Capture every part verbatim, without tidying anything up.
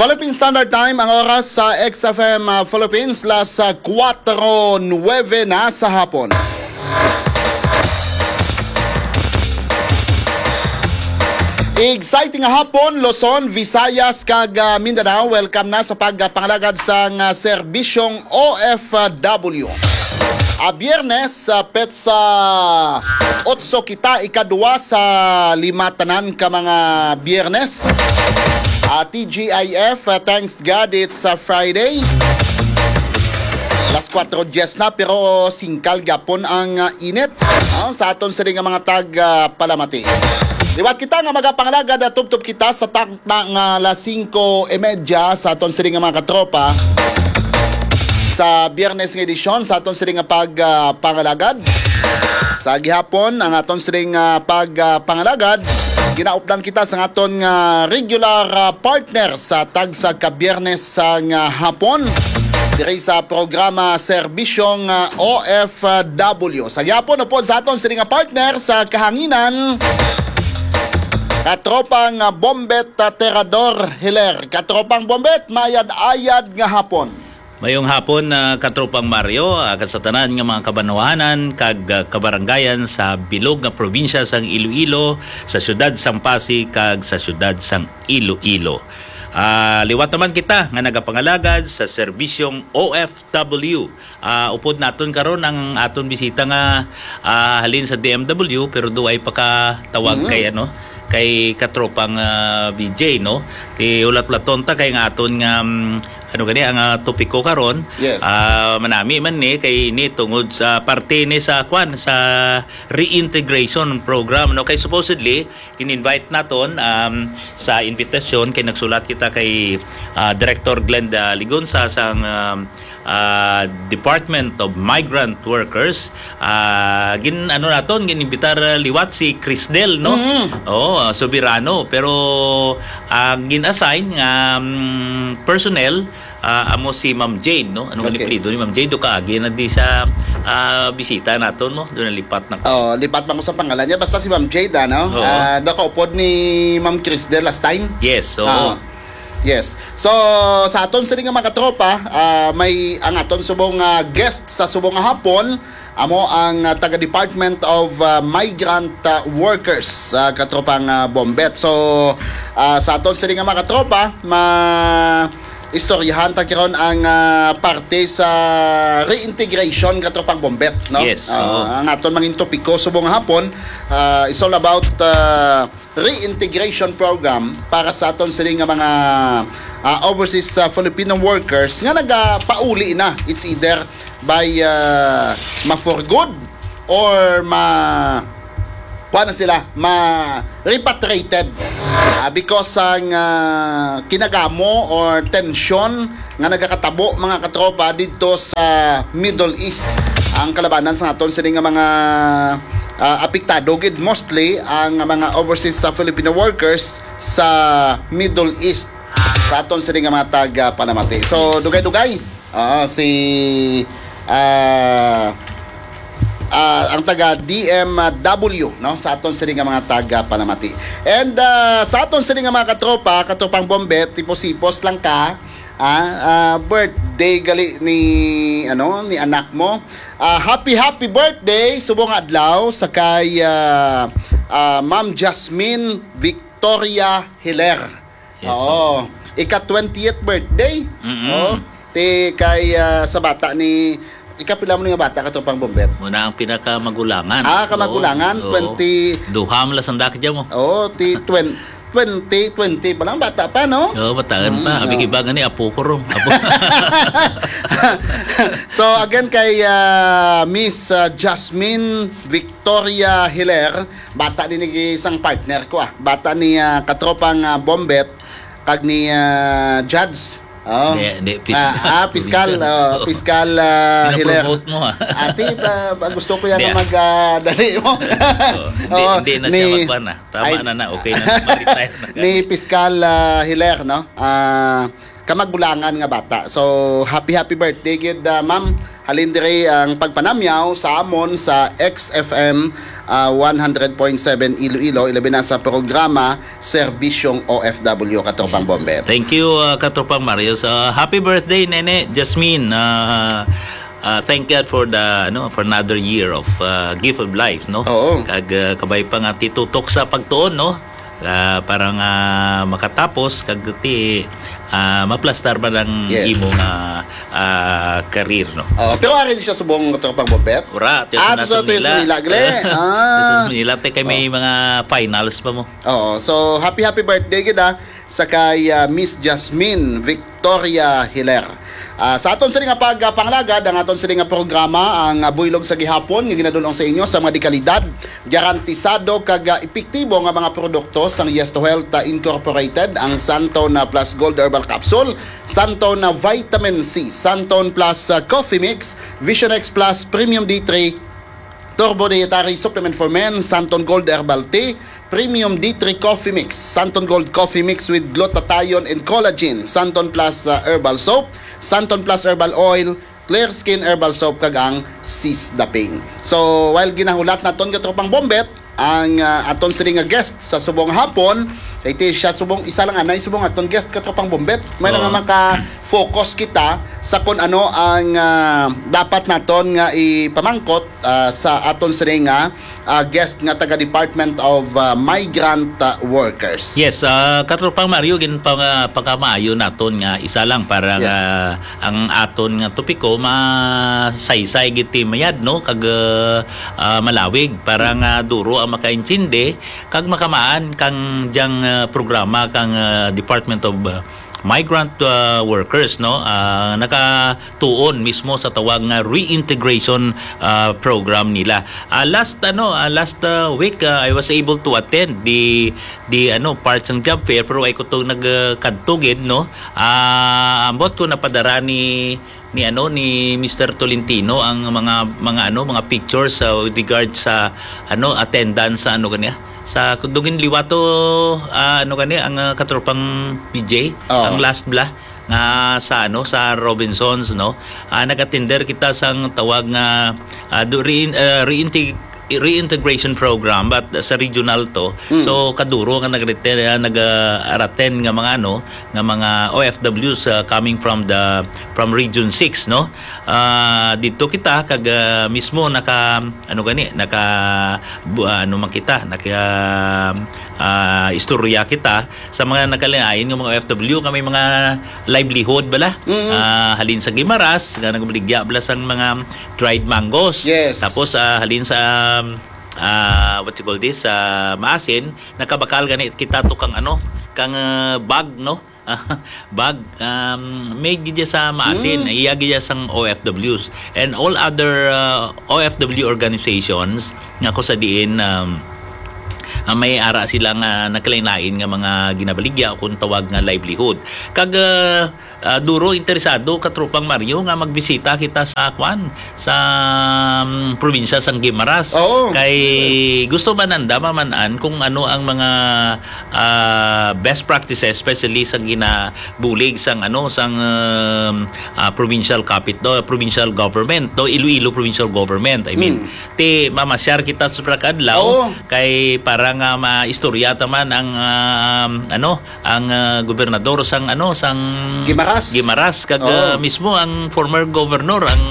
Philippine Standard Time, ang oras sa X F M, ah, Philippines, las, ah, kuwatro nuebe na sa hapon. Exciting nga hapon, Luzon, Visayas, kag, ah, Mindanao. Welcome na sa pagpangalagad sang, ah, serbisyong O F W. Ah, Biyernes, ah, petsa otso kita, ikadua sa lima tanan ka mga Biyernes. Ah, T G I F, ah, thanks God it's a Friday. Las kuwatro dies na, pero singkal gyapon ang, ah, init. Ah, sa aton sini nga mga tag, ah, palamati. Liwat kita nga magapangalagad, ah, tubtob kita sa takna nga las singko y media sa aton sini nga mga katropa. Sa Biyernes nga edisyon sa aton sini nga pag, ah, pangalagad. Sa gihapon, ang aton sini nga pag, ah, pangalagad, ginaupdan kita sa aton nga regular, ah, partner sa tagsa ka Biyernes sa nga hapon diri sa programa Serbisyong, ah, O F W. Sa gihapon, upod sa aton sini nga partner sa kahanginan, katropang, ah, Bombet, ah, Terador Hiler. Katropang Bombet, mayad-ayad nga hapon. Mayong hapon, ah, Katropang Mario, ah, kag sa tanan nga mga kabanwahanan kag, ah, kabarangayan sa bilog nga probinsya sang Iloilo, sa siyudad sang Pasig kag sa siyudad sang Iloilo. Ah, liwat naman kita nga nagapangalagad sa serbisyong O F W. Ah, upod naton karon ang aton bisita nga, ah, halin sa D M W, pero duay pa ka tawag Mm. kay, ano, kay Katropang, ah, V J, no? Kay ulat-ulaton ta kay nga aton nga, mm, ano gani, ang, ah, topiko karon, Yes. ah, manami man ni, kay ini tungod sa parte ni sa, kwan, sa reintegration program, no? Kay supposedly, in-invite naton, um, sa invitation kay nagsulat kita kay, ah, Director Glenda Ligonza sang, um, ah, Department of Migrant Workers. Ah, gin-, ano naton, gin-imbitar, ah, liwat si Crisdel, no? Mm. Oo, ah, Soberano. Pero ang gin-assign nga, um, personnel, ah, amo si Ma'am Jane, no? Ano nga Okay. apelyido ni Ma'am Jane? Do kaagi na di sa, ah, bisita naton, no? Do nalipat na. Oh, lipat man ko sa pangalan niya. Basta si Ma'am Jade, ano? Oo. Ah, nakaupod ni Ma'am Crisdel last time. Yes, oo. Ah, yes. So, sa aton sini nga mga katropa, ah, may ang aton subong, ah, guest sa subong nga hapon, amo ang, ah, taga Department of, ah, Migrant, ah, Workers, ah, katropang, ah, Bombet. So, ah, sa aton sini nga mga katropa, ma istoryahan ta karon ang, ah, parte sa reintegration, katropang Bombet, no? Yes, Ah, oo. Ang aton mangin topiko subong nga hapon, ah, is all about, ah, reintegration program para sa aton sini nga mga, ah, overseas, ah, Filipino workers nga nagapauli na. It's either by, ah, ma-for good or ma-, kuha na sila, ma-repatriated. Ah, because sang, ah, kinagamo or tensyon nga nagakatabo, mga katropa, didto sa Middle East. Ang kalabanan sa aton sini nga mga, ah, apektado gid mostly ang mga overseas sa Filipino workers sa Middle East sa aton sini nga mga taga panamati. So, dugay-dugay, ah, si, ah, ah, ang taga D M W, no, sa aton sini nga mga taga panamati. And, ah, sa aton sini nga mga katropa, katropang Bombet, tipos-tipos lang ka, ah, ah, birthday gali ni, ano, ni anak mo. Ah, happy, happy birthday, subong adlaw sa kay, ah, ah, Ma'am Jasmine Victoria Hiler. Yes, Oo. sir. Ika twentieth birthday. Mm-mm. Oh, ti kay, ah, sa bata ni, ikapila mo ni nga bata, katropang Bombet? Muna ang pinakamagulangan. Ah, kamagulangan, Oo. Oo. twenty. Duha mo lang sandak dyan mo. Oo, ti twen-, twenty twenty pa lang, bata pa, no? Oo, bataan pa. Mm, Abi, oo. Iba gani, apo ko ron. Apo. So, again, kay, ah, Miss, ah, Jasmine Victoria Hiler, bata din ni isang partner ko, ah. Bata ni, ah, katropang, ah, Bombet, kag ni, ah, Judge. Oh. Di, di, pis-, Ah, ah, piskal, probinsya. oh, Oo. piskal, ah, Hiler. Pinapromote mo, ah. Ate, pa, pa, gusto ko yan Di, na ah. mag, ah, dali mo. Oo. Hindi, Oo, hindi na siya ni, magkuhan na. Tama ay, na na, okay na na. Mag-retire na ka. ni Piskal, ah, Hiler, no? Ah, kamagulangan nga bata. So, happy, happy birthday gid, ah, ma'am. Halin diri ang pagpanamyaw sa amon sa X F M, ah, one hundred point seven Iloilo, ilabi na sa programa Serbisyong O F W, Katropang Bombet. Thank you, ah, Katropang Mario. So, happy birthday, Nene Jasmine. Ah, ah, thank God for the, ano, for another year of, ah, gift of life, no? Oo. Kag, ah, kabay pa nga titutok sa pagtuon, no? Ah, para nga makatapos kag ti, ah, maplastar man ang Yes. imo nga, ah, career, no? Oo, pero ari di siya subong, Katropang Bombet? Ura, tiyo Ah, sa so, tiyo sa Manila. Manila, gle. Ah. Tiyo sa Manila, te, kay may Oh. mga finals pa mo. Oo, so happy, happy birthday gid, ah, sa kay, ah, Miss Jasmine Victoria Hiler. Ah, sa aton sini nga pagpangalagad, ang aton sini nga programa, ang, ah, buylog sa gihapon nga ginadul-ong sa inyo sa mga dekalidad, garantisado kag, ah, epektibo nga mga produkto sang Yes to Health, ah, Incorporated, ang Santon, ah, Plus Gold Herbal Capsule, Santon, ah, Vitamin C, Santon Plus, ah, Coffee Mix, Vision X Plus Premium D three, Turbo Dietary Supplement for Men, Santon Gold Herbal Tea, Premium D three Coffee Mix, Santon Gold Coffee Mix with Glutathione and Collagen, Santon Plus, uh, Herbal Soap, Santon Plus Herbal Oil, Clear Skin Herbal Soap, kag ang Sis the Pain. So, while ginahulat naton, Katropang Bombet, ang, uh, aton sini nga guest sa subong hapon, kay ti siya subong, isa lang anay subong aton guest, Katropang Bombet. May Oo. nga maka-focus kita sa kung ano ang, uh, dapat naton nga ipamangkot, uh, sa aton sini nga, uh, guest nga taga Department of, uh, Migrant, uh, Workers. Yes, uh, Katropang Mario, gin pang, uh, pagkamaayo naton nga isa lang para Yes. nga ang aton nga topiko masaysay gid ti mayad, no, kag, uh, uh, malawig para nga duro ang makaintindi kag makamaan kang dyang, uh, programa kang, uh, Department of, uh, Migrant, uh, Workers, no, uh, nakatuon mismo sa tawag nga reintegration, uh, program nila. Uh, last, ano, uh, last, uh, week, uh, I was able to attend the, the, ano, part sang job fair, pero ay ko to nagkadto gid, no. Ah, ambot ko napadara ni, ni, ano, ni Mister Tolentino ang mga, mga, ano, mga pictures sa with regard sa, ano, attendance sa, ano, kanya, sa Kudugin Liwato, ah, ano, kanya, ang, ah, Katropang P J, Oo. ang last bla nga sa, ano, sa Robinsons, no? Ah, nag-attender kita sang tawag nga, ah, do, rein-, ah, reinteg-, reintegration program, but sa regional to. Mm. So, kaduro nga nag-, ah, nag-, ah, araten nga mga, ano, nga mga O F Ws, ah, coming from the, from Region six, no? Ah, dito kita kag, ah, mismo naka, ano gani, naka, bu-, ah, ano man kita, naka, ah, istorya kita sa mga nagkalain-lain nga mga O F W nga may mga livelihood bala. Mm. Ah, halin sa Guimaras, nga nagbaligya bala sang mga dried mangoes. Yes. Tapos, ah, halin sa, ah, what you call this, sa Maasin, nakabakal gani kita to kang ano, kang, ah, bag, no? Bag, um, made gid sa Maasin, Mm. iya gid sang O F Ws. And all other, uh, O F W organizations nga ko sa diin, um, ah, may ara sila nga nagkalain-lain nga mga ginabaligya o kung tawag nga livelihood. Kag, uh, uh, duro interesado, Katropang Mario, nga magbisita kita sa kwan, sa, um, probinsya sang Guimaras. Oo. Kay gusto man nanda maman-an kung ano ang mga, ah, best practices, especially sa ginabulig sang, ano, sang, um, ah, provincial capit-, no, provincial government, no, Iloilo provincial government, I mean. Mm. Ti mamasyar kita sa pagkadlaw Oo. kay para nga maistorya ta man ang, ah, um, ano, ang, ah, gobernador sang, ano, sang Guimaras. Guimaras, kag, Oo. ah, mismo ang former governor, ang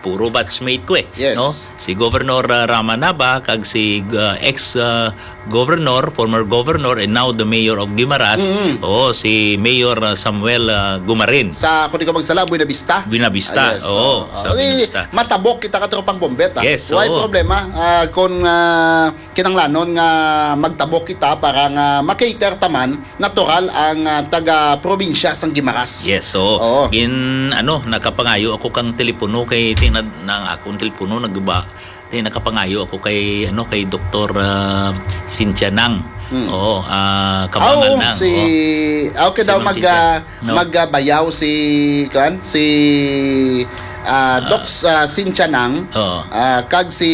puro batchmate ko eh, Yes. no? Si Governor, ah, Rama Nava, kag si, ah, ex, ah, governor, former governor, and now the mayor of Guimaras, Mm. oo, si Mayor, ah, Samuel, ah, Gumarin. Sa, kung di ko magsala, Buena Vista. Buena Vista, Ah, yes. oo, Oo. sa Eh, Buena Vista. Matabok kita, Katropang Bombet, ah. Yes, Way oo. problema, ah, kung, ah, kinanglanon nga magtabok kita para nga ma-cater ta man, natural ang, ah, taga-probinsya sang Guimaras. Yes, oo. Oo. Gin-, ano, nakapangayo ako kang telepono kay ti-, na, na ang akong telepono nagba-, ti-, nakapangayo ako kay, ano, kay Doktor, ah, Cynthia Nang. Hmm. Oo, ah, Ah, Kabangal oo, Nang, si, oo. ah, okay Si daw Ma'am mag, Cynthia. ah, No. mag, ah, bayaw si, kuan, si, ah, Ah. Doc, ah, Cynthia Nang, Oo. ah, kag si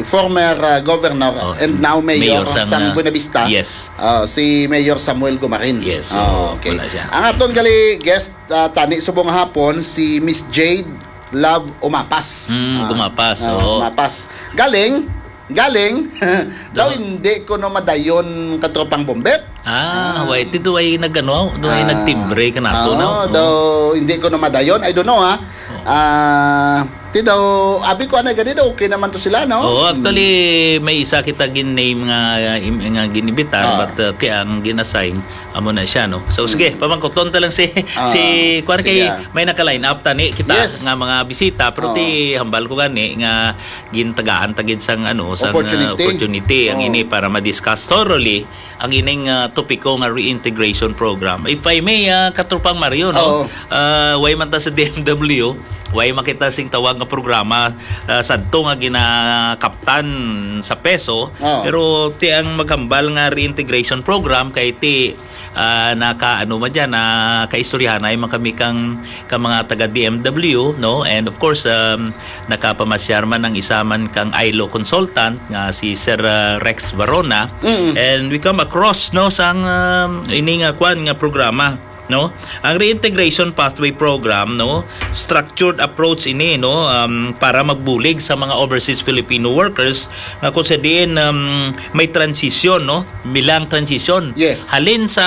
former, ah, governor Oh, and now mayor mayor sang, sang ah, Buenavista, yes. ah, si Mayor Samuel Gumarin. Yes, Ah, oo, okay. wala siya. Ang aton gali guest, ah, tani subong hapon, si Miss Jade Love Umapas. Mm, Ah, Umapas, ah, oo. Umapas. Galing, Galing. Daw hindi ko no madayon, katropang Bombet. Ah, way, dito ay nag-ano, do ay nagtimbre ka nato, no? Daw hindi ko no madayon. I don't know, ha. Ah, ti daw, abi ko anay gani daw, okay naman to sila, no? Oo, actually, may isa kita gin-name nga, im-, nga ginibitar, but, uh, ti ang gin-assign, amo na siya, no? So, sige, pamangkuton ta lang si, si, kuwan kay, may naka-line up tani kita nga mga bisita, pero ti hambal ko gani nga gintagaan ta gid sang, ano, sang, uh, opportunity ang ini para ma-discuss thoroughly ang ining, ah, topiko nga reintegration program. If I may, ah, Katropang Mario, no? Oo. Ah, way man ta sa D M W, way makita sing tawag nga programa, ah, sadto nga ginakaptan sa peso, oo, pero ti ang maghambal nga reintegration program kay ti, ah, naka, ano man dyan, nakaistoryahanay man kami kang, kang mga taga D M W, no? And of course, um, nakapamasyar man ang isa man kang I L O consultant nga si Sir, ah, Rex Varona. Mm. And we come across, no, sang, um, ini nga kwan nga programa, no? Ang Reintegration Pathway Program, no, structured approach ini, no, um, para magbulig sa mga overseas Filipino workers nga kung sa diin, um, may transition, no, milang transition. Yes. Halin sa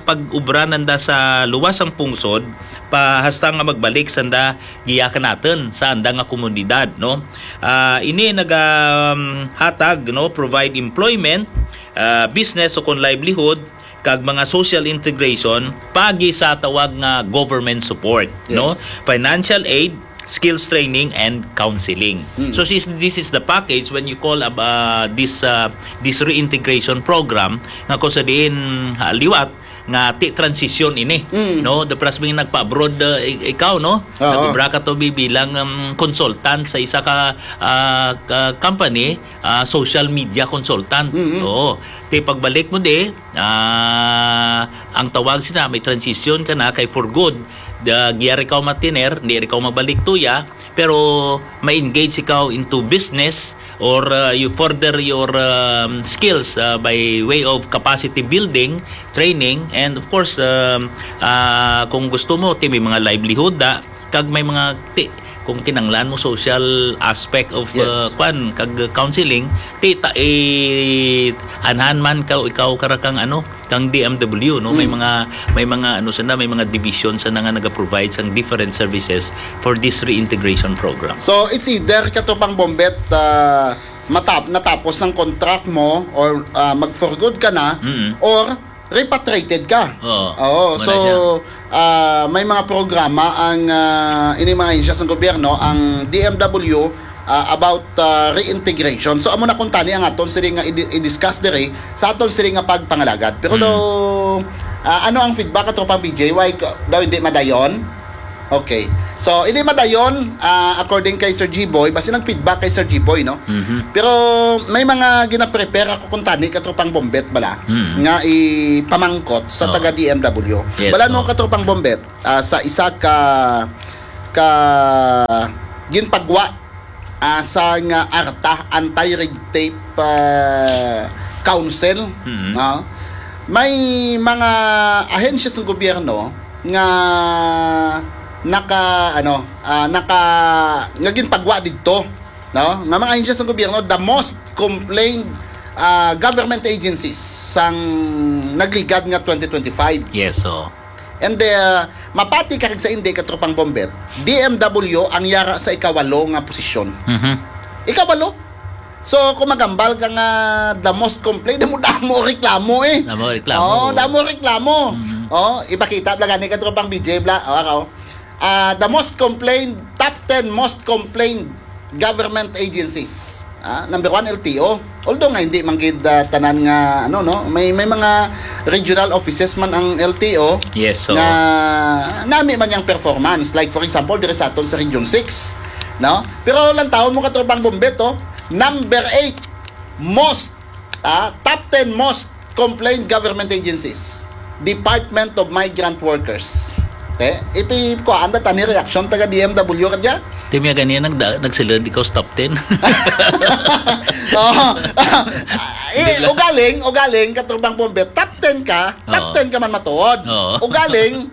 pag-ubra nanda sa luwas sang pungsod, pa hasta nga magbalik sanda giya ka naton sa anda nga komunidad, no? Ah, ini naga, um, hatag, no, provide employment, ah, business o kon livelihood, kag mga social integration pagi sa tawag nga government support, yes, no? Financial aid, skills training, and counseling. Mm. So, sis-, this is the package when you call ab-, ah, this, ah, this reintegration program nga kung sa diin, ah, liwat nga ti transition ini, mm, no? The pras nagpa-abroad, ah, i-, ikaw, no? Oo. Nag-ubra ka to bi-, bilang, um, consultant sa isa ka, ah, ka company, ah, social media consultant. Mm-hmm. Oo. Ti pagbalik mo di, ah, ang tawag sina, may transition ka na kay for good. Da, giya rin ka matiner, di rin ka mabalik tuya, pero ma-engage ikaw into business or, uh, you further your, um, skills, uh, by way of capacity building, training, and of course, um, uh, kung gusto mo, ti may mga livelihood da, kag may mga ti, kung kinanglan mo social aspect of, yes, uh, kwan, kag counseling, ti ta, eh, anhan man ka, ikaw kara kang ano, kang D M W, no? May, mm, mga, may mga, ano, sana, may mga division sana nga naga-provide sang different services for this reintegration program. So, it's either, Katropang Bombet, ah, matap-, natapos ang contract mo or, ah, mag-for good ka na, mm, or repatriated ka. Oo. Oo, wala so, siya. Ah, may mga programa ang, ah, ini mga ahensya sa gobyerno, ang D M W, ah, about, ah, reintegration. So, amo na kung tani ang aton sini nga i-, i-discuss diri sa aton sini nga pagpangalagad. Pero, mm, daw, ah, ano ang feedback, Katropang B J? Why ko, daw hindi madayon? Okay. So, hindi madayon, ah, according kay Sir G-Boy, basi nag-feedback kay Sir G-Boy, no? Mhm. Pero may mga gina-prepare ako kung tani, Katropang Bombet bala, mm, nga ipamangkot sa, oh, taga D M W. Yes, bala mo, oh, Katropang Bombet, ah, sa isa ka, ka ginpagwa, ah, sa nga ARTA, Anti-Red Tape, ah, Council, mm, no? May mga ahensya sa gobyerno nga naka, ano, ah, naka, nga ginpagwa didto, no? Nga mga ahensya sa gobyerno, the most complained, ah, government agencies sang nagligad nga twenty twenty-five. Yes, so. And, uh, mapati ka kag sa hindi, Katropang Bombet, D M W ang yara sa ikawalo nga posisyon. Mhm. Ikawalo. So, kung magambal ka nga the most complained, damo-damo reklamo eh. Damo reklamo. Oo, damo reklamo. Mm. Oh, ipakita bala gani, Katropang B J, bala. Oh, ako. Ah, the most complained, top ten most complained government agencies. Ah, number one, L T O. Although nga hindi man gid, ah, tanan nga, ano, no, may, may mga regional offices man ang L T O. Yes, so. Nga nami man yang performance. Like, for example, diri sa aton sa Region six, no? Pero lang taon mo, Katropang Bombet, oh, number eight most, ah, top ten most complained government agencies. Department of Migrant Workers. Te, ipi ko anda tani reaction taga D M W ka dya? Ti mi gani nagda-, nagsulod ikaw sa top ten. Oh. Eh, ugaling, ugaling, Katropang Bombet, top ten ka, top ten ka man matuod. Oo. Ugaling,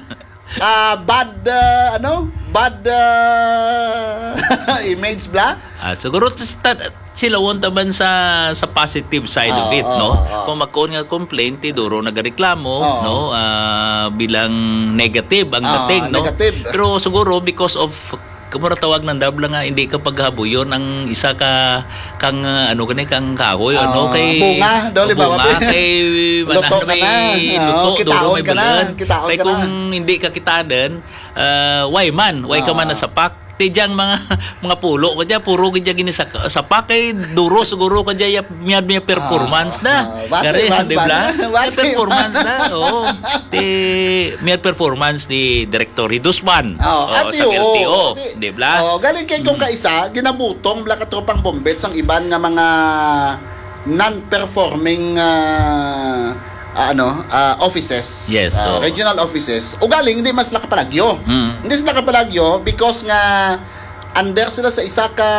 ah, bad, ah, ano? Bad, ah, image bala? Ah, siguro, tas ta-, Silawon taman sa, sa positive side of Oo, it, oo, no? oo. Kung magkuon nga complaint, ti duro nagareklamo, Oo. no? Ah, bilang negative ang Oo, dating, no? negative. Pero siguro because of, kumura tawag ng dabla nga, hindi ka paghabuyon ang isa ka, kang, ah, ano gani, kang kahoy, ano, Ah, kay bunga, daw, o libawa, bunga, pe. kay Luto manan ka may na. luto, Oo, duro kitaon may ka na, bulan. kitaon Kay ka na. kung hindi ka kitanan, ah, why man, why ka man Oo. nasapak? Ti diyang mga, mga pulo ko diya, puro gid diya gini sa, sa pa kay duro siguro ka diya ya, miyad, miyad performance Ah, na. ah, basi Gari, man, di ba? man. May Basi performance man. na, oo. Ti, miyad performance ni Director Hidusman. Oh, Oo, ati, sa oo. L T O, Ati, di ba? oh, galing kay kung Mm. kaisa, ginabutong bala ka tropang bombet sang iban nga mga non-performing, ah, ah, ano, ah, offices, Yes, ah, oo. regional offices. Ugaling, hindi mas nakapalagyo. Mm. Hindi sila kapalagyo because nga under sila sa isa ka,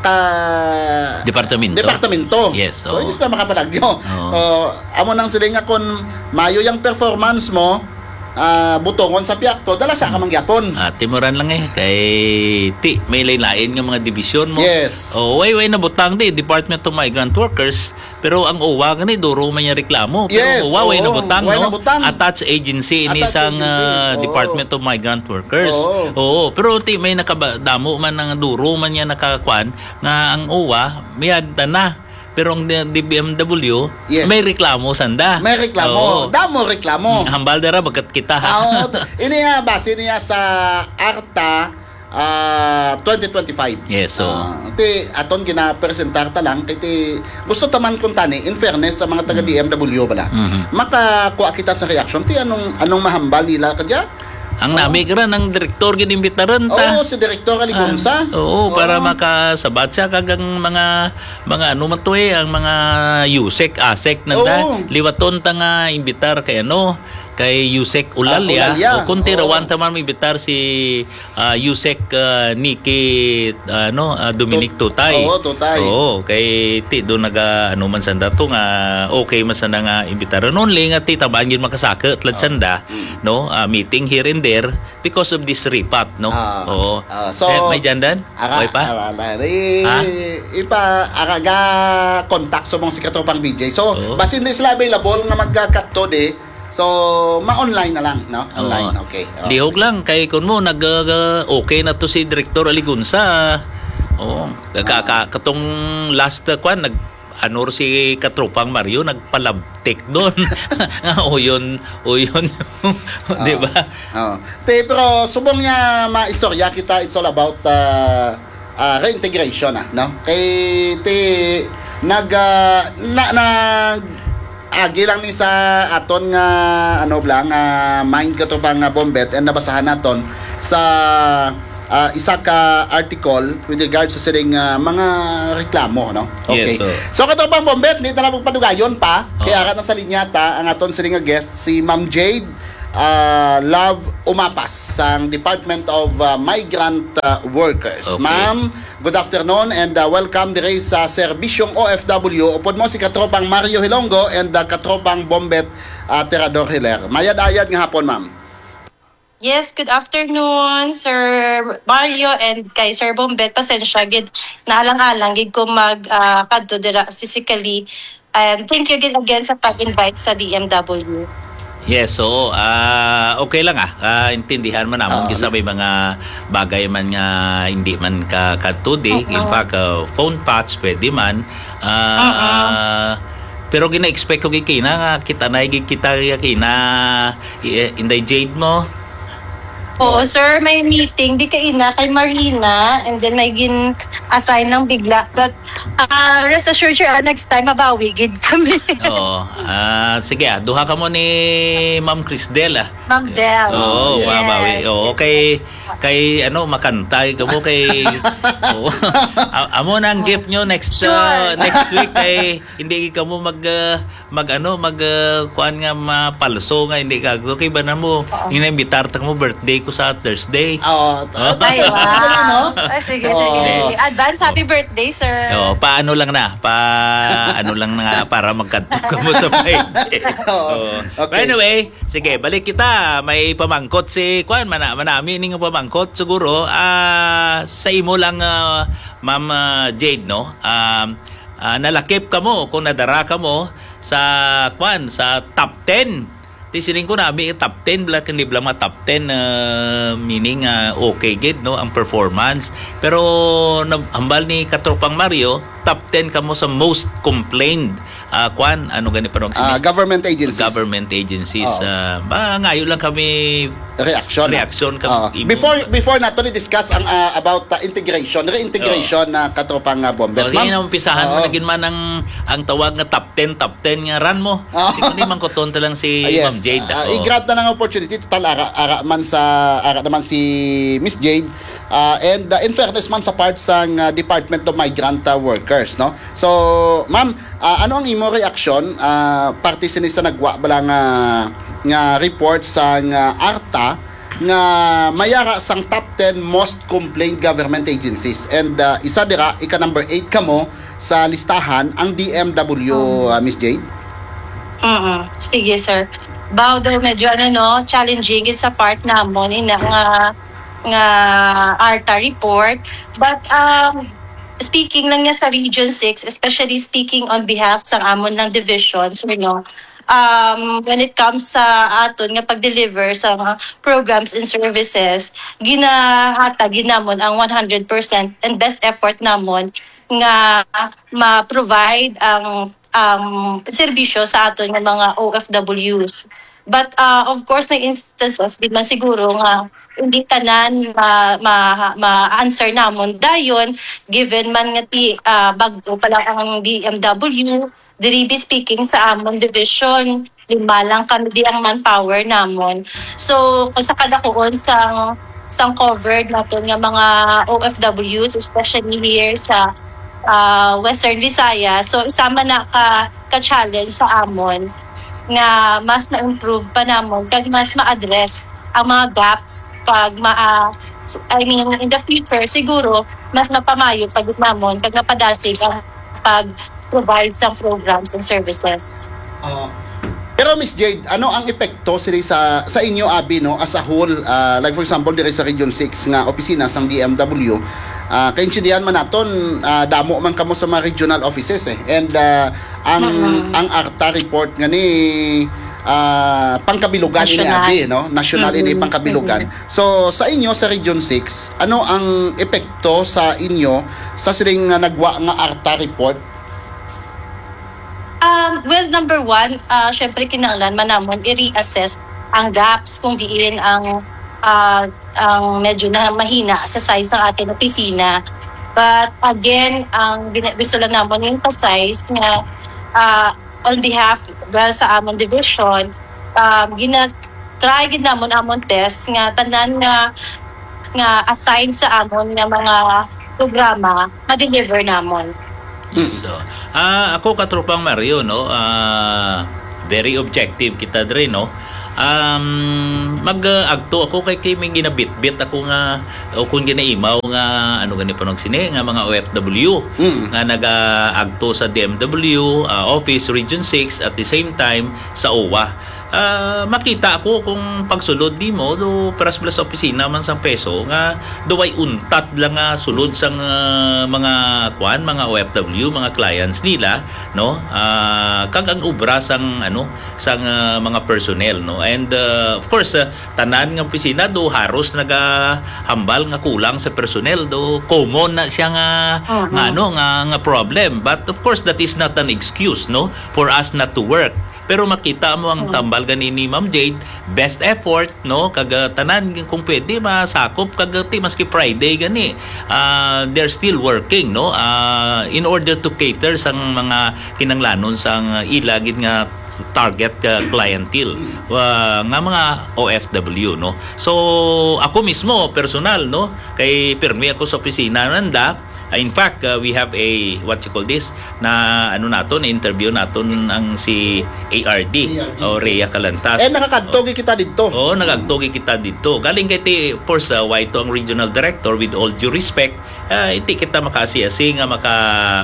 ka Departamento? departamento. Yes, So, oo. hindi sila makapalagyo. Oo. Oh, amo nang sila nga kung mayo yung performance mo, ah, butongon sa piyakto, dala sa ka Mm. mangyapon. Ah, timuran lang eh, kay ti, may lain-lain nga mga division mo. Yes. Oh, way, way nabutang di, Department of Migrant Workers, pero ang O W A gani, duro man niya reklamo. Pero Yes, O W A, way oo. nabutang, Way no? nabutang. Attached agency ini Attached sang, agency. ah, Oo. Department of Migrant Workers. Oo. Oo, pero ti, may nakaba-, damo man ang duro man niya nakakuan nga ang O W A, miyagta na. Pero ang D-, D B M W, Yes. may reklamo sanda. May reklamo. Oo. Damo reklamo. Mm, hambal dara, bagat kita, ha? Ah, oo. Ini, ah, base niya sa ARTA, ah, twenty twenty-five. Yes, so Ah, ti, aton ginapresentar ta lang, kay ti, gusto ta man kung tani, in fairness sa mga taga Mm. D M W bala, Mhm. makakuha kita sa reaction. Ti, anong, anong mahambal nila kadya? Ang Oo. nami ka rin, ang direktor gid imbitaran ta. Oo, si Direktor Aligonza. Ah, oo, para Oo. makasabat siya kag ang mga, mga ano man to eh, ang mga USEC, ASEC nanda. Oo. Liwaton ta nga imbitar kay ano, kay USEC Ulalia. Ah, Ulalia. O kung tirawan Oo. ta man imbitar si, ah, USEC, ah, Nikki, ah, ano, ah, Dominic Tut-, Tutay. oo, Tutay. Oo, kay ti do naga, ano man sanda to nga, okay man sanda nga imbitaran. Only nga ti tabangan gid makasaka, tulad Ah. sanda, Mm. no? Ah, meeting here and there because of this repat, no? Ah. Oo. Ah, so, Eh, may dyan dan? ara, May pa? ara, ara, i-, Ha? ipa, ara ga contact sa mga si Katropang B J. So, Oo. basin di sila available nga magka-cut to di, so, ma-online na lang, no? Oo. Online, okay. Oh, Lihog sige. lang, kay kun mo, nag, uh, okay na to si Direktor Aligunsa. Oo. Ka, ka, Ah. katong last, uh, kwan, nag, ano si Katropang Mario, nagpalabtik doon. Nga uyon, uyon, di ba? Ah. Oh. Te, pero subong niya maistorya kita, it's all about, uh, uh, reintegration, ah, no? Kay ti nag, ah, na, nag-agi lang ni sa aton nga, ano, bala, nga mind, Katropang, ah, Bombet, and nabasahan naton sa, ah, isa ka article with regards sa sining, ah, mga reklamo, no? Yes, Okay. sir. So, Katropang Bombet, di ta na magpadugayon pa. Kay Oo. ara na sa linya ta ang aton sining nga guest, si Ma'am Jade, ah, Love Umapas sang Department of, ah, Migrant, ah, Workers. Okay. Ma'am, good afternoon and, ah, welcome diri sa Serbisyong O F W. Upod mo si Katropang Mario Hilongo and, ah, Katropang Bombet, ah, Tirador Hiler. Mayad-ayad nga hapon, ma'am. Yes, good afternoon, Sir Mario and kay Sir Bombet. Pasensya gid, naalang-alang gid ko mag, ah, kadto dira physically. And thank you again, again sa pag-invite sa D M W. Yes, oo. Ah, okay lang, ah. Ah, intindihan man namon Oo, kisa na- may mga bagay man nga hindi man ka kadto di. In Oo. fact, ah, phone patch pwede man. Ah, Oo. pero gina-expect ko gid kina nga kita na gid kita kina, eh, Inday Jade mo. Oo, sir, may meeting di kaina kay Marina, and then may gin-assign ng bigla. But, ah, rest assured, sir, ah, next time, mabawi gid kami. Oo. Ah, sige, ah, duha ka mo ni Ma'am Crisdel, ah. Ma'am Del. Oo, Yes. mabawi. Oo, kay, kay, ano, makantay ka mo kay, oo. A-, amo na ang gift nyo next, Sure. ah, next week kay hindi ka mo mag, ah, mag, ano, mag, ah, kuan nga mapalso nga hindi ka. Okay ba na mo? Oo. Inaimbitar ta mo birthday ko sa Thursday. Oo. Oh. Ay, wow. Galing, no? Ah, sige, Oo. sige, sige. Advance happy birthday, sir. Oo, paano lang na? Pa, ano lang na para magkadto ka mo sa Friday. Oo. Oo. Okay. By the way, sige, balik kita. May pamangkot si kuan, mana-, manami ning pamangkot. kot siguro, ah, sa imo lang, ah, Ma'am, ah, Jade, no? Um, ah, nalakip kamo kung nadara kamo sa, kwan, sa top ten. Di sining ko nami top ten, bala, hindi bala mga top ten, ah, meaning, ah, okay gid, no, ang performance. Pero na-, hambal ni Katropang Mario, top ten kamo sa most complained, ah, kwan, ano gani pa nung Ah, sini? Government agencies. Government agencies. Oo. Ah, ba, ngayo lang kami Reaction, ah. Reaction kami Oo. imo. Before, before nato ni-discuss ang, ah, about, ah, integration, reintegration Oo. na Katropang, ah, Bomber. Oh, Ma'am? Sige, naumpisahan mo Oo. na gid man ang, ang tawag nga top ten, top ten nga ran mo. Oo. Ikaw ni mangkuton ta lang si Ah, yes. Ma'am Jade, Ah, ako. I-grab na ng opportunity. Total, ara, ara man sa, ara naman si Miss Jade. Ah, and, ah, in fairness man sa part sang, ah, Department of Migrant, ah, Workers, no? So, ma'am, ah, ano ang imo reaksyon, ah, parte sini sa nagwa bala nga, nga report sang, ah, ARTA nga mayara sang top ten most complained government agencies? And, ah, isa dira, ika number eight kamo sa listahan, ang D M W, Oh. ah, Miss Jade? Mm, sige, sir. Bao daw medyo, ano, no, challenging gid sa part namon, ina nga, nga ARTA report. But, um, speaking lang niya sa Region six, especially speaking on behalf sa amon ng division, sir, no, um, when it comes sa aton nga pag-deliver sa mga programs and services, ginahatag gid namon ang one hundred percent and best effort namon nga ma-provide ang, ang serbisyo sa aton nga mga O F Ws. But, ah, of course, may instances gid man siguro nga hindi tanan ma-, ma-, ma-answer namon dayon, given man nga ti-, ah, bag-o pa lang ang D M W, diri bi speaking sa amon division, lima lang kami di ang manpower namon. So, kung sa kadakuon sang, sang covered naton nga mga O F Ws, especially here sa, ah, Western Visayas, so isa man na ka, ka challenge sa amon nga mas ma-improve pa namon kag mas ma-address ang mga gaps pag ma-, ah, s-, I mean, in the future, siguro, mas mapamayo pa gid namon kag mapadasig ang pag-provide sa programs and services. Oo. Pero, Miss Jade, ano ang epekto sini sa, sa inyo abi, no, as a whole? Ah, like, for example, diri sa Region six nga opisina sang D M W, ah, kaintindihan man naton, ah, damo man kamo sa mga regional offices, eh. And, ah, ang, Mm-mm. ang ARTA report nga ni, ah, pangkabilugan ini National. abi, no? National ini Mm-mm. pangkabilugan. Mm-mm. So, sa inyo sa Region six, ano ang epekto sa inyo sa sining nga nagwa nga ARTA report? Um, well, number one, ah, syempre kinahanglan man namon i-reassess ang gaps kung diin ang, ah, ang medyo na mahina sa size ng ating opisina. But again, ang gina-, gusto lang namon i-emphasize nga, ah, on behalf, well, sa amon division, um, gina-, try gid namon amon test nga tanan nga, nga assigned sa amon nga mga programa, ma-deliver namon. Mm. So, ah, ako, Katropang Mario, no, ah, very objective kita diri, no. Um, mag, ah, agto ako kay, kay may ginabitbit ako nga, o kung ginaimaw nga, ano gani pa nung sini, nga mga O F W Mm. nga nagaagto sa D M W, ah, office, Region six, at the same time sa O W A. Ah, makita ako kung pagsulod nimo, do, peras bala sa opisina man sang PESO, nga do way untat lang nga sulod sang, ah, mga, kuan, mga O F W, mga clients nila, no? Ah, kag ang obra sang, ano, sang, ah, mga personnel, no? And, ah, of course, ah, tanan nga opisina do haros nagahambal nga kulang sa personnel, do common na siya nga, Mhm. nga, ano, nga, nga problem. But of course, that is not an excuse, no, for us not to work. Pero makita mo ang Hmm. tambal gani ni Ma'am Jade, best effort, no? Kag, ah, tanan kung pwede masakop kag, ah, ti maski Friday gani, ah, they're still working, no? Ah, in order to cater sang mga kinanglanon sang, ah, ila gid nga target, ah, clientele, ah, nga mga O F W, no? So, ako mismo, personal, no? Kay pirmi ako sa opisina nanda, Ah, in fact, uh, we have a, what you call this, na ano naton, na-interview naton ang si A R D, A R D, o Rhea yes. Calantas. Eh, nakakadto Oh. gid kita didto. Oo, nakadto gid kita didto. Galing kay ti, of course, uh, why to ang regional director, with all due respect, ah, hindi kita makaasi-asi nga maka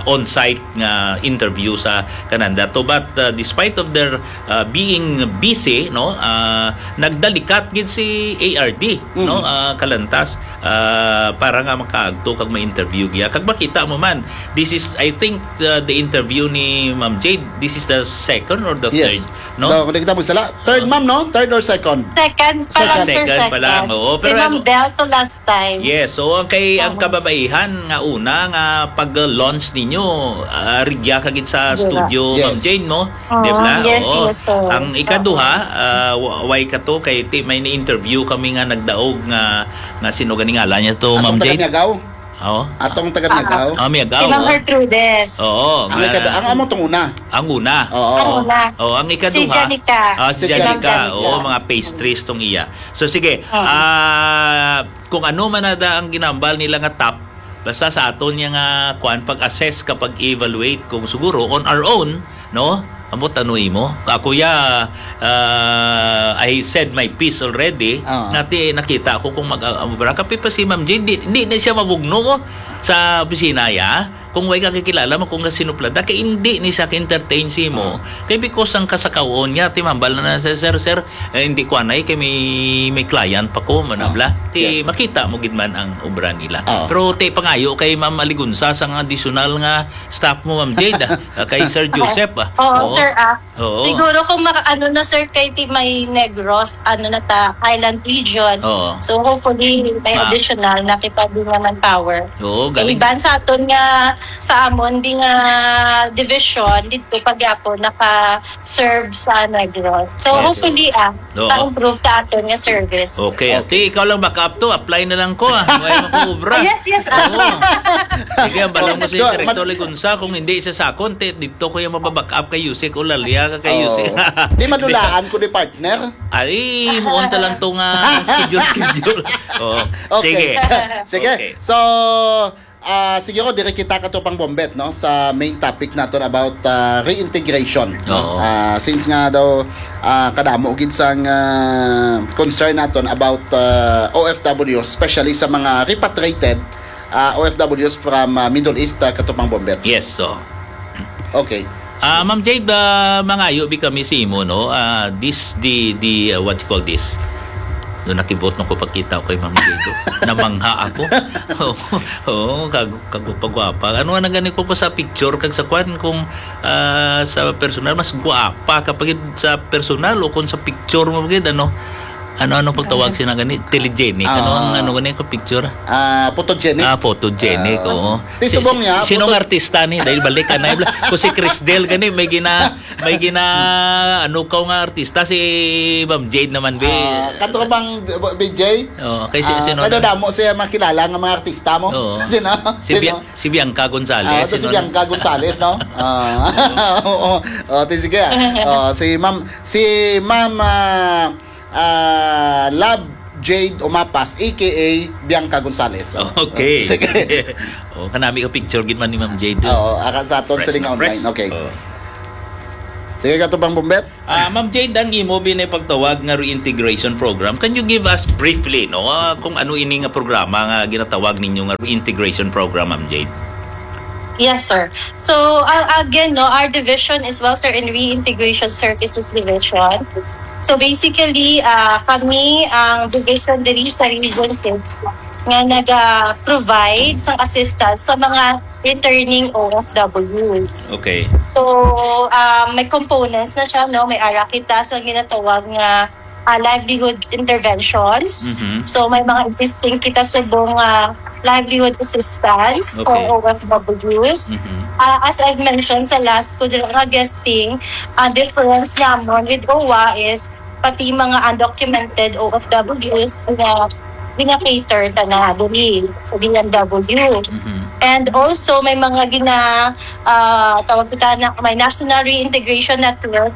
on-site nga interview sa kananda to. But, ah, despite of their, ah, being busy, no, ah, nagdalikat gid si A R D, Mm. no, ah, Kalantas, ah, para nga makaagto kag ma-interview giya. Kag makita mo man, this is, I think, ah, the interview ni Ma'am Jade, this is the second or the Yes. third, no? No, kung di kita magsala, third, Ah. ma'am, no? Third or second? Second pa lang, Second. sir, Second pa lang, second. oo. Si Pero Ma'am ang Del to last time. Yes, so ang kay, ang Oo. kababaihan nga una nga pag-launch ninyo, ah, rigya ka gid sa Di ba? studio, Yes. Ma'am Jane, no? Oo, Di ba? yes, Oo. yes, sir. Ang ikaduha, Oo. ah, wa-, way ka to kay ti-, may ni-interview kami nga nagdaog nga, nga sino gani ngalan niya to, Atong Ma'am taga Jane? Miagao? Oo. Atong taga Ah. Miagao? Ah, Miagao, Si Ma'am oh. Gertrudes. Oo, Ang nga ikadu-, ang amo tong una. Ang una. Oo. Ang una. Oh, ang Si ikaduha. Janica. Ah, si Si Janica. Janica. Oo, mga pastries tong iya. So, sige. Mm. Ah, kung ano man na da ang ginambal nila nga top, basta sa aton niya nga kuan, pag-assess ka, pag-evaluate, kung siguro on our own, no? Amo tanong imo. Ako ya, ah, I said my piece already. Oo. Nati, nakita ko kung mag, ah, amo ba, kapi pa si Ma'am Jane, di, di na siya mabugno mo sa opisina ya. Kung way ka kakilala mo, kung kasinuplada, kay hindi ni siya ka-entertain si mo. Oo. Kay because ang kasakawon niya, timambal na na siya, "Sir, sir, eh, hindi ko anay, kay may, may client pa ko," manabla. Ah, Ti, yes. makita mo gid man ang obra nila. Oo. Pero ti, pangayo kay Ma'am Aligunsa sa nga additional nga staff mo, Ma'am Jade, ah, kay Sir Joseph, ah. Oo, Oo. sir, ah. Oo. Siguro kung maka-, ano na, sir, kay ti may Negros, ano na ta, island region. Oo. So, hopefully, may Ma- additional na kita din naman power. Oo, Kay galing. iban sa aton nga, sa amon, di nga division, dito pagyapon, naka-serve sa Negros. So, Yes. hopefully, ah, Oo. ma-improve ta aton nga service. Okay, Okay. ate, ikaw lang back up to, apply na lang ko, ah. May makubra. Ah, yes, yes, ah. Oo. Sige, ang balang mo si Good. Direktor Mad- Ligunsa, kung hindi siya sakon, te, dito ko yung mababack up kay Yusek Olalia, kay Oo. Yusek. Di madulaan ko ni partner. Ay, muon ta lang to nga schedule, schedule. Oo. Okay. Sige. Sige. Okay. So, ah, siguro diri kita, Katropang Bombet, no, sa main topic naton about, ah, reintegration, no? Oo. Ah, since nga daw, ah, kadamo gid sang, ah, concern naton about, ah, O F W, especially sa mga repatriated, ah, O F Ws from, ah, Middle East, ah, Katropang Bombet. Yes, so. Okay. Ah, Ma'am Jade, ah, mangayo bi kami sa imo, no? Ah, this, the, the, ah, what you call this? No, nakibot na ko pagkita ko kay Ma'am Jade, oh. Namangha ako. Oo, oo, kag-, kagwapa-gwapa. Ano nga nagani ko, ko sa picture, kag sa kwan, kung, ah, sa personal, mas gwapa ka pa gid sa personal o kung sa picture mo gid, ano? Ano, ano pagtawag Ah. sina gani? Telegenic. Ano ang Ah. ano gani ka picture? Ah, photogenic. Ah, photogenic, Ah. oo. Ti Si, subong si, niya, sinong photo- artista ni? Dahil balik ka na, kung si Crisdel gani, may gina-, may gina-, ano ka nga artista, si Ma'am Jade naman, be. Ah, kato ka bang, B J? Oo, kay si-, Ah, sino kay na? Damo siya makilala nga mga artista mo? Oo. Sino? Si Sino? Bia-, si Bianca Gonzalez, Ah, to si sino na? Bianca Gonzalez, no? Ah, oo. Oh, ti-, sige. Oh, si Ma'am, si Ma'am, ah, ah, Love Jade Umapas, A K A Bianca Gonzalez. Okay. Sige. Oh, kanami ko picture gid man ni Ma'am Jade. Oo, aka sa aton Fresh siling na fresh. online. Okay. Oh. Sige, Katropang Bombet. Ah, Ma'am Jade, ang imo binay pagtawag nga reintegration program, can you give us briefly, no, ah, kung ano ini nga programa nga ginatawag ninyo nga reintegration program, Ma'am Jade? Yes, sir. So, uh, again, no, our division is Welfare and Reintegration Services Division. So, basically, uh, kami ang division diri sa Region six nga naga-provide sang assistance sa mga returning O F Ws. Okay. So, uh, may components na siya, no? May ara kita sa ginatawag nga ah, livelihood interventions. Mhm. So, may mga existing kita subong, ah, livelihood assistance for Okay. O F Ws. Mhm. Ah, as I've mentioned sa last ko dira nga guesting, ang difference namon with O W A is pati mga undocumented O F Ws nga gina-cater ta na diri sa D M W. Mhm. And also, may mga gina-, ah, tawag kita na, may National Reintegration Network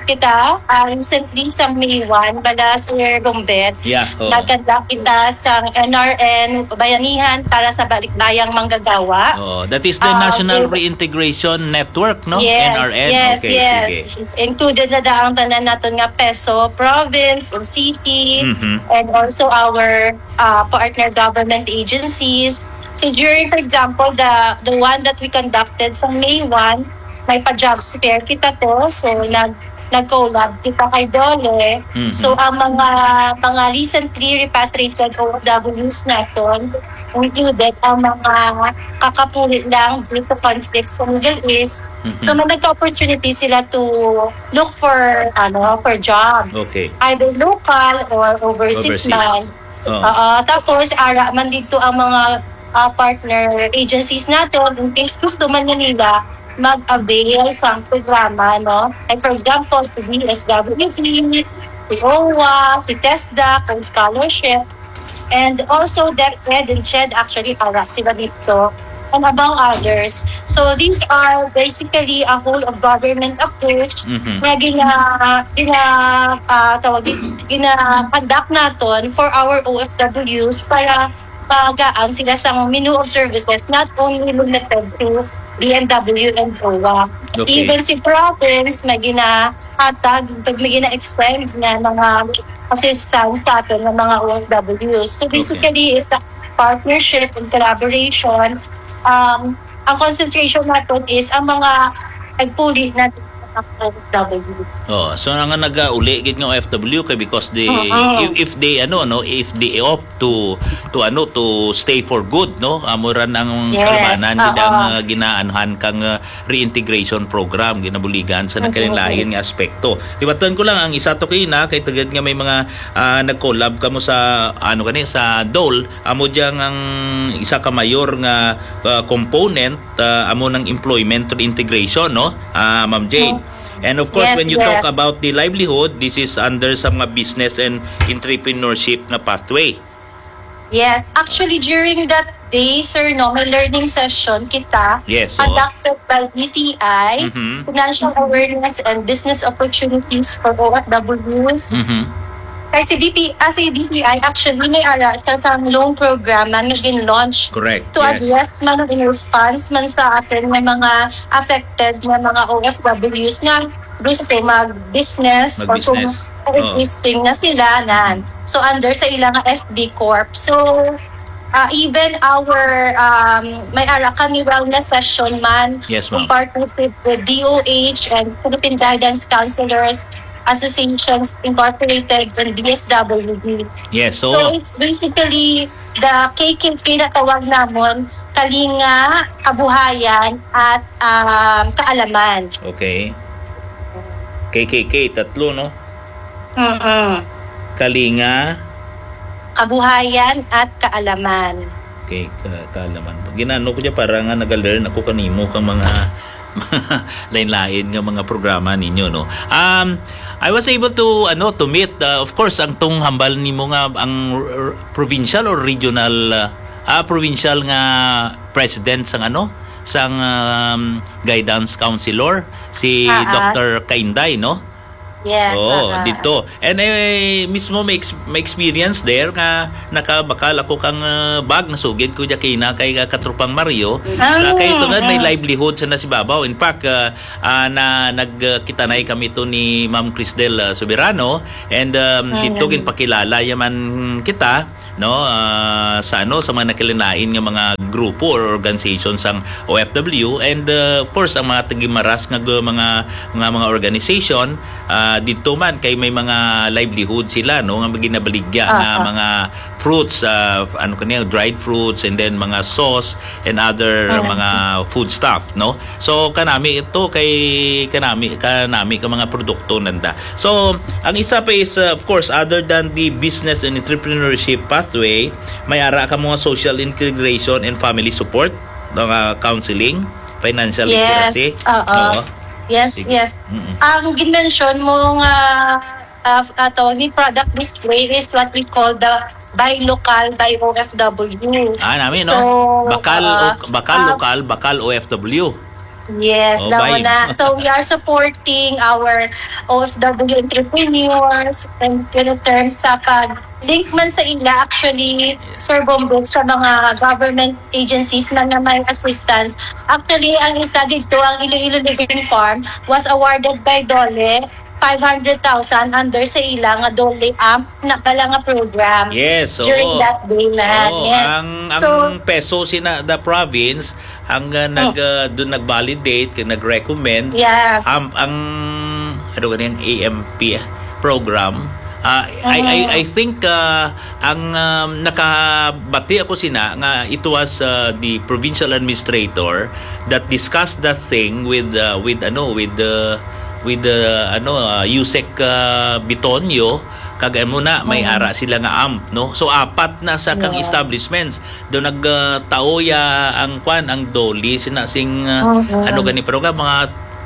kita, ah, recently sa May one, bala, Sir Rombet, Yeah, oo. nagkadla kita sa N R N Bayanihan para sa Balikbayang Manggagawa. Oo, that is the Ah, National okay. Reintegration Network, no? Yes, N R N. Yes, Okay, yes. sige. Included na daang tanan naton nga peso, province or city, Mhm. and also our, ah, partner government agencies. So during, for example, the the one that we conducted sa May one, may pa-jobs fair kita to. So nag nag-collab kita kay DOLE. Mhm. So ang mga mga recently repatriated O F Ws naton included ang mga kakapuli lang due to conflict sa Middle East. Mhm. So may nagka-opportunity sila to look for ano for job, Okay. either local or overseas, Overseas. man. Oo. Oo, tapos ara man dito ang mga ah, partner agencies naton in case gusto man na nila mag-avail sa programa, no? Like for example, si D S W D, si OWWA, si TESDA, ang scholarship, and also DepEd and CHED actually para sila dito, and among others. So these are basically a whole of government approach Mhm. na gina, gina, ah, tawag din, gina-conduct naton for our O F Ws para magaan sila sa menu of services, not only limited to D M W and OWWA. Okay. Even si province may ginahatag, may gina-extend nga mga assistance sa aton nga mga O F Ws. So basically, it's a partnership and collaboration. Um, ang concentration naton is ang mga nagpuli na mga O F Ws. Oh, so nga nagauli gid nga O F W kay because they Oo. if, if they ano no, if they opt to to ano to stay for good, no, amo ra nang Yes, kalabanan gid oo. Ang uh, ginaanuhan kang uh, reintegration program, ginabuligan sa Mhm. nagkalain-lain nga aspekto. Tibatan ko lang ang isa to kay na kay tagad nga may mga ah, nag-collab kamo sa ano gani sa DOLE, amo diyang ang isa ka mayor nga uh, component uh, amo ng employment reintegration, no? Ah, Ma'am Jane. And of course, Yes, when you talk yes. about the livelihood, this is under sa mga business and entrepreneurship nga pathway. Yes, actually during that day, sir, no, may learning session kita Yes, oo. Conducted by D T I, Mhm. Financial Awareness and Business Opportunities for O F Ws. Mhm. Kay si D P, ah, si D T I actually may ara siya sa loan program na naging launch Correct. to Yes. address man in response man sa atin nga mga affected nga mga O F Ws nga gusto mag-business or kung Mag-business. existing na sila na. So under sa ilang S B Corp. So uh, even our um, may ara kami wellness session man Yes, in ma'am. Partnership with D O H and Philippine Guidance Counselors Associations Incorporated and D S W D. Yes, So, so, it's basically the K K K na tawag namon, Kalinga, Kabuhayan, at um, Kaalaman. Okay. K K K, tatlo, no? Mm-mm. Kalinga. Kabuhayan at Kaalaman. Okay, ka kaalaman. Ginano ko dyan para nga nag-learn ako kanimo kang mga lain-lain nga mga programa ninyo, no? Um, I was able to ano to meet uh, of course ang tong hambal nimo nga ang r- r- provincial or regional uh, ah provincial nga president sang ano sang um, guidance counselor si Ah, ah. Doctor Kainday, no? Yes. Oo, ah, ah. Dito. And eh, mismo may, ex- may experience there nga nakabakal ako kang uh, bag nasugid ko dya kay na kay uh, katrupang Mario. Ah, Sa kay ito nga may ah. livelihood sa nasibabaw. In fact, uh, uh, na nagkitanay kami to ni Ma'am Crisdel uh, Soberano and um, Mm. Dito ginpakilala yaman kita no uh, sa ano sa mga nakilinain nga mga grupo or organization sang O F W and uh, of course ang mga tagimaras nga gu- mga nga mga organization uh, dito man kay may mga livelihood sila no nga ginabaligya nga Aha. mga fruits uh, ano kaniya dried fruits and then mga sauce and other Mm. mga food stuff no so kanami ito kay kanami kanami ka mga produkto nanda so ang isa pa is uh, of course other than the business and entrepreneurship pathway may ara ka mga social integration and family support mga counseling financial Yes. literacy Oo. Oo. Yes, Sige. yes. Mm-mm. Ang ginmention mo nga uh, uh, tawag ni product display is what we call the buy local, buy O F W. Ah, nami, no? So, bakal, uh, o- bakal uh, lokal, bakal O F W. Yes, Oh, that buy. One na. So, we are supporting our O F W entrepreneurs and in terms sa pag-link man sa ila, actually, Sir Bombog, sa mga government agencies man na may assistance. Actually, ang isa dito, ang Iloilo Living Farm was awarded by DOLE five hundred thousand under sa ila nga DOLE amp na pala nga program. Yes, oo. During that day na. Oo, yes. Ang, so, ang PESO sina the province, ang, uh, nag, uh, doon nag-validate, kag nag-recommend. Yes. Amp ang, ano gani ang A M P program. Uh, I, I, I think, uh, ang, um, nakabati ako sina nga it was, uh, the provincial administrator that discussed that thing with, uh, with, ano, with, uh, with, uh, ano, uh, USEC, uh, Bitonio, kag amo na, may ara sila nga amp, no? So, apat na sa kang establishments. Do nagtaoya ang kwan, ang DOLE, sina sing, uh, ano gani program, mga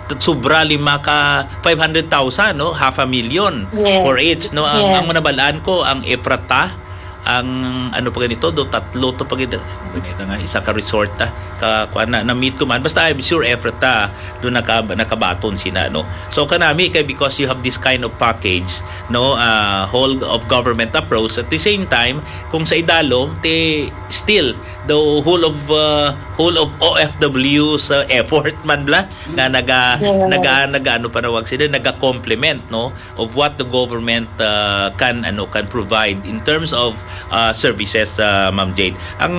t-, sobra lima ka five hundred thousand, no? Half a million for each, no? Ang, ang manabalaan ko, ang EFRATA, ang ano pa ganito, do tatlo to pa gid-, ganito nga, isa ka resort, ah, ka, kwan na, na-meet ko man. Basta I'm sure EFRATA, do naka-, nakabaton sina, no? So, kanami kay because you have this kind of package, no, uh, whole of government approach. At the same time, kung sa idalom, ti still the whole of, uh, whole of O F W's, uh, effort man bla nga naga naga naga ano panawag sila, naga complement, no, of what the government, uh, can, ano, can provide in terms of, uh, services, uh, Ma'am Jade. Ang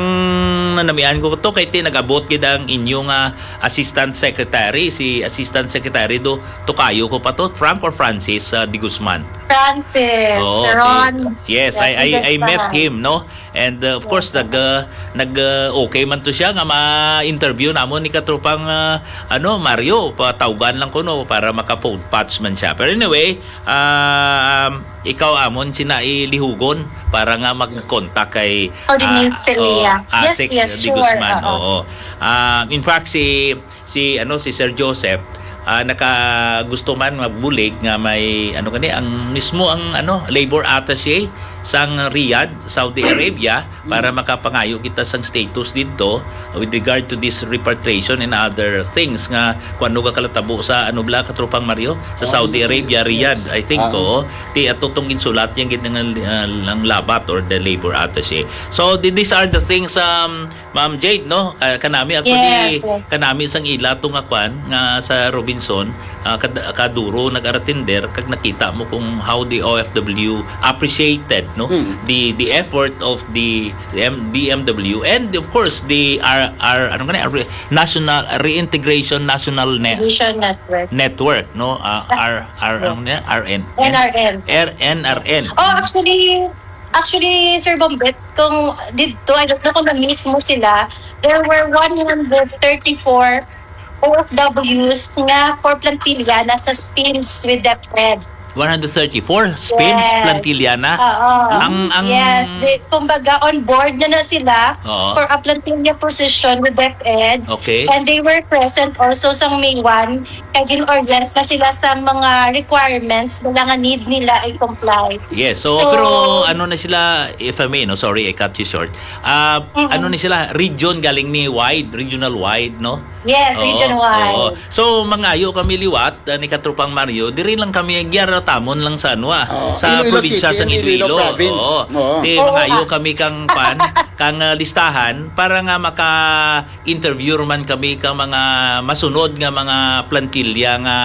nanamian ko to kay ti nag-abot gid ang inyo nga assistant secretary, si assistant secretary do tukayo ko pa to, Frank or Francis, uh, De Guzman? Francis, Oo, Ron. Yes, I, I, I met him, no? And, uh, of course, nag, uh, nag, uh, okay man to siya nga ma-interview namon ni katropang, uh, ano, Mario, patawgan lang ko, no, para maka-phone patch man siya. Pero anyway, um, ikaw amon sina ilihugon para nga mag-contact kay, Coordinate ah, sila. Oo, Yes, Asik yes, De sure, Guzman. Oo. Oo. Ah, in fact, si si, ano, si Sir Joseph, ah, naka-, gusto man magbulig nga may, ano gani, ang mismo ang, ano, labor attaché sang Riyadh, Saudi Arabia, para makapangayo kita sang status didto with regard to this repatriation and other things nga kung ano ka kalatabo sa, ano bla, katropang Mario, sa Saudi Arabia, Riyadh, I think, oo. Ti ato tong ginsulat yang gid nga, ah, lang labat or the labor attaché. So, th-, these are the things, um, Ma'am Jade, no? Ka-, kanami actually, Yes, yes. kanami sang ila to nga kwan, nga sa Robinson, ah, kad-, kaduro nag-attender, kag nakita mo kung how the O F W appreciated, no? Mm. The, the effort of the M-, D M W and of course the R-, R-, ano nga ni? R-, National Reintegration National Ne-, Division Network. Network, no? Ah, R-, R-, ano nga ni? R N? N R N. R-, N R N. Oh, actually, actually, Sir Bombet, kung didto, I don't know kung na-meet mo sila, there were one hundred thirty-four O F Ws nga for Plantilla na sa SPIMS with DepEd. One hundred thirty-four SPIMS Yes. Plantilla na? Oo. Ang, ang Yes. They, kumbaga, on board na na sila Oo. for a Plantilla position with DepEd. Okay. And they were present also sa May one. Kay gin-orient na sila sa mga requirements nila nga need nila i-comply. Yes. So, So, pero ano na sila, if I may, no? Sorry, I cut you short. Ah, Mm-mm. ano ni sila? Region galing ni wide, regional wide, no? Yes, Oo, region wide. oo. So, mangayo kami liwat, ah, ni Katropang Mario, diri lang kami, giyaratamon lang sa ano, ah, Oo, sa Iloilo probinsya City sang and Iloilo Iloilo. Province. Oo. Oo. Di Oo, mangayo ah. kami kang pan, kang, ah, listahan para nga maka-interview man kami kang mga masunod nga mga plantilla nga,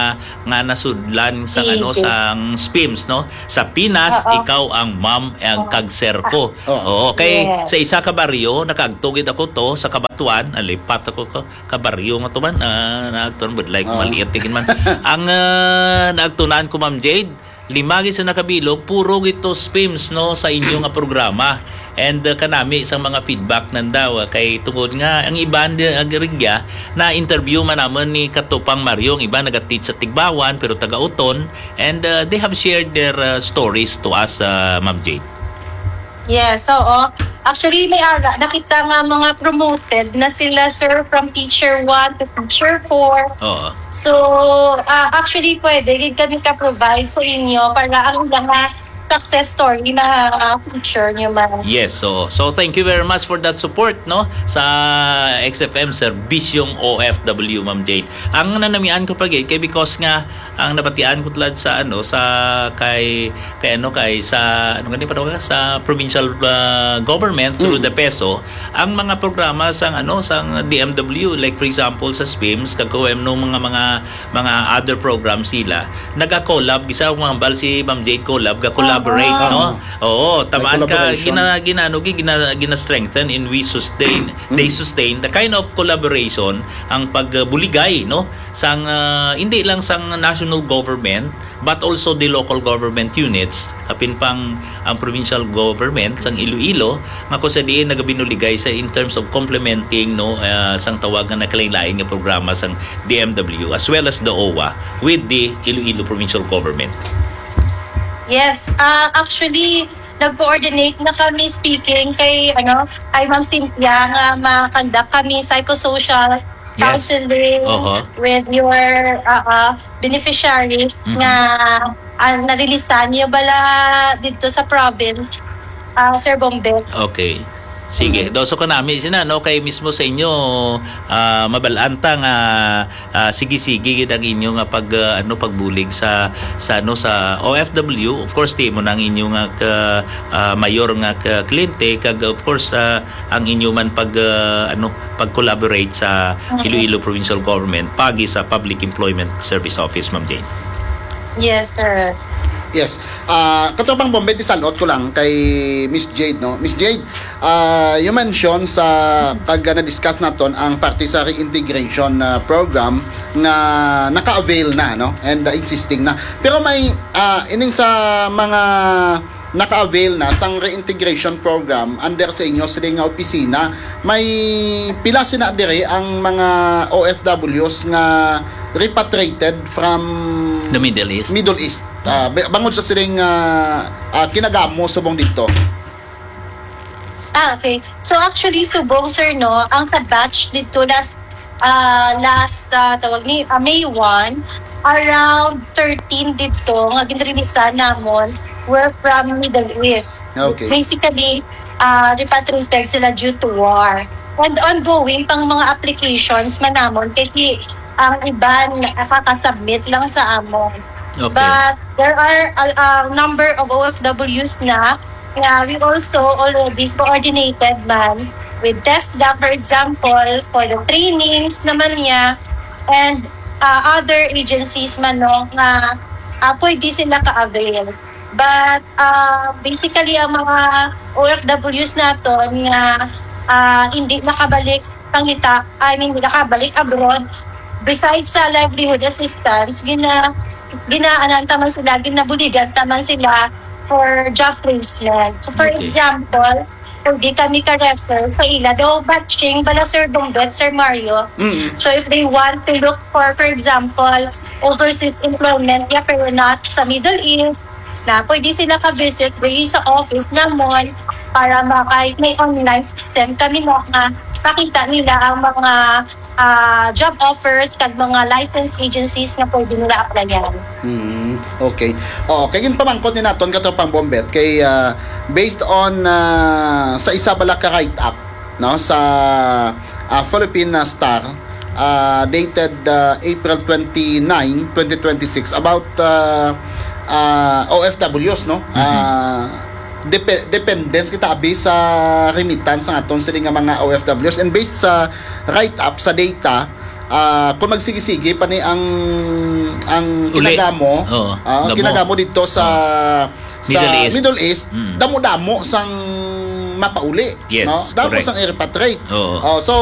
nga nasudlan sa Sige. ano, sang SPIMS, no? Sa Pinas, Oo. ikaw ang ma'am, ang Oo. kag sir ko. Oo. Oo, kay Yes. sa isa ka baryo, nakaagto gid ako to, sa Cabatuan, nalipat ako ko, ka baryo nga to man, ah, naagtuan, budlay ko, Ah. maliit, tigin man. Ang, ah, naagtunan ko, Ma'am Jade, lima gid sa nakabilog, puro gid to SPIMS, no, sa inyo nga programa. And, uh, kanami sang mga feedback nandaw, uh, kay tungod nga ang iban di, ang rigya na interview man namon ni Katupang Mario, ang iban naga-teach sa Tigbawan pero taga Oton, and, uh, they have shared their, uh, stories to us, uh, Ma'am Jade. Yes, oo. Actually, may ara, nakita nga mga promoted na sila, sir, from teacher one to teacher four. Oo. So, ah, actually, pwede gid kami ka-provide sa inyo para ang mga success story ma-feature nyo, ma'am. Yes, so so thank you very much for that support, no, sa X F M Serbisyong O F W, Ma'am Jade. Ang nanamian ko pa gid kay because nga ang nabatian ko tulad sa ano sa kay kay ano kay sa ano gani pa daw sa provincial uh, government through the peso, ang mga programa sang ano sang D M W, like for example sa swims kag kung ano mga mga mga other programs sila, naga-collab, gisa ang mga hambal si Ma'am Jade collab, ga-collaborate, Ah. no? Oo, tamaan ka collaboration. gina ginano gi gina, gina-strengthen in we sustain, they sustain the kind of collaboration ang pagbuligay, no? Sang ah, hindi lang sang national government but also the local government units, apin pang ang provincial government sang Iloilo nga kung sa diin nagabinuligay sa in terms of complementing, no, ah, sang tawag nga nakalain-lain nga programa sang D M W as well as the O W A with the Iloilo Provincial Government. Yes, ah actually, nag-coordinate na kami speaking kay ano, kay Ma'am Cynthia nga ma-conduct kami psychosocial Yes. counseling Oho. with your uh, uh, beneficiaries Mhm. nga uh, narilisan niyo bala dito sa province, ah Sir Bombe. Okay. Sige, doso ko nami sina, no, kay mismo sa inyo ah, mabalanta nga ah, sige-sige gid ang inyo nga pag ah, ano pagbulig sa sa ano sa O F W. Of course, di mo na ang inyo nga ka, ah, mayor nga ka kliyente kag of course ah, ang inyo man pag ah, ano pag-collaborate sa Iloilo Provincial Government pagi sa Public Employment Service Office, Ma'am Jane. Yes, sir. Yes. Ah, katropang Bombe, tisalot ko lang kay Miss Jade, no? Miss Jade, ah, you mentioned sa pag na-discuss naton ang parte sa reintegration ah, program nga naka-avail na, no? And ah, existing na. Pero may ah, ining sa mga naka-avail na sang reintegration program under sa inyo sila nga opisina, may pila sina diri ang mga O F Ws nga repatriated from The Middle East. Middle East. Ah, ba- bangod sa siling ah, ah, kinagamo subong dito. Ah, okay. So actually, subong, sir, no, ang sa batch dito last uh, last uh, tawag ni uh, May one, around thirteen dito nga ginreleasan namon were from Middle East. Okay. Basically, uh, repatriated sila due to war. And ongoing pang mga applications man namon kay ang iban nakaka-submit lang sa amon. Okay. But there are a, a number of O F Ws na. Yeah, we also already coordinated man with TESDA, for example, for the trainings naman niya, and uh, other agencies man, no, nga uh, pwede sila ka-avail. But uh, basically, ang mga O F Ws naton nga uh, hindi nakabalik pangita, I mean, nakabalik abroad, besides sa livelihood assistance, gina ginaanan ta man sila, ginabuligan ta man sila for job placement. So, for Okay. example, pwede kami ka-refer sa ila daw batching bala, Sir Bongbet, Sir Mario. Mm. So if they want to look for, for example, overseas employment, yeah, pero not sa Middle East, na pwede sila ka-visit diri sa office namon para ma kahit may online system kami na nga makita nila ang mga ah, job offers kag mga licensed agencies nga pwede nila applyan. Mm, okay. Oh, kay ginpamangkot ni naton katropang Bombet kay ah, based on ah, sa isa bala ka write-up, no, sa ah, Philippine ah, Star, ah, dated ah, April twenty-nine, twenty twenty-six, about ah, ah, O F Ws, no? Ah, depe- dependents kita abi sa remittance sa aton sila nga mga O F Ws, and based sa write-up sa data, ah, kung magsige-sige pa ni ang ang Uli. kinagamo, Oo. ah, Gamo. Kinagamo dito sa sa Middle East. Middle East, Mm. damo-damo sang mapauli, Yes, no? Damo correct. sang i-repatriate. Oo. Oh, so